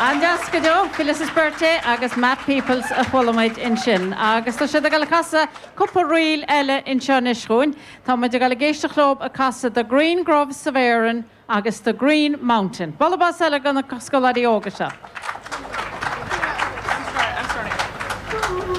An-deas go deo, Phyllis Berthet agus Matt Peoples a chuala muid ansin. Agus tá siad ag dul a casadh cúpla ríl eile anseo anois chugainn. Tá muid ag dul ag éisteacht leo ag casadh The Green Groves of Erin agus The Green Mountain. Bualadh bos eile do na scoláirí óga seo.